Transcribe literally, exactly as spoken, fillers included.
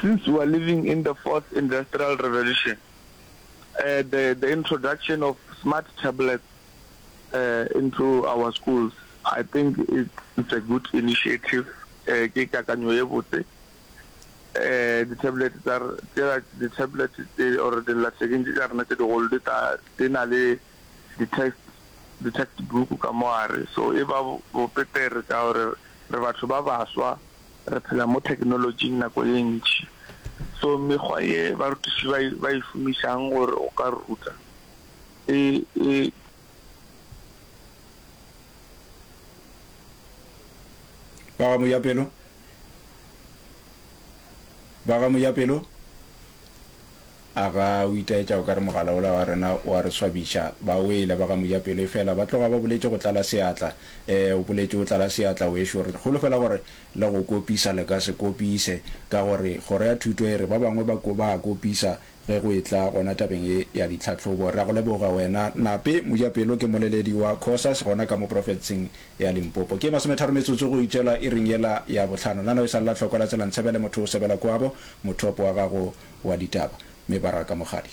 Since we are living in the fourth industrial revolution, uh, the, the introduction of smart tablets uh, into our schools, I think it's, it's a good initiative. Uh, ke kakanyo ye botse. Uh, di-tablet tsa tšela di-tablet tse or dillathekeng tše tša rena tše digolo di ta di na le di-text di-textbook ka mo gare so e ba bopetere ka gore re batho ba baswa re phela mo technology nako ye ntši so mekgwa ye barutiši ba e- ba e šomišang gore o ka ruta e e Ba ga Mojapelo? Ba ga Mojapelo? A ga o itaetša o ka re mogala ola wa rena o a re swabiša? Ba wele ba ga Mojapelo efela ba tloga ba boletše go tlala seatla. Ee, o boletše o tlala seatla wešo. Re holofela gore le go kopisa le ka se kopise ka gore kgoro ya thuto e re ba bangwe ba ba a kopisa ge go etla gona tabeng ye ya ditlhahlobo. Re a go leboga wena Nape Mojapelo, ke moleledi wa Cosas gona ka mo profenseng ya Limpopo. Ke masometharo metsotso go itšela iring yela ya bohlano. Nano e sa lla hloko la tsela ntshebele motho o sebela kwabo, mothopo wa gago wa ditaba. Mebaraka Mokgadi.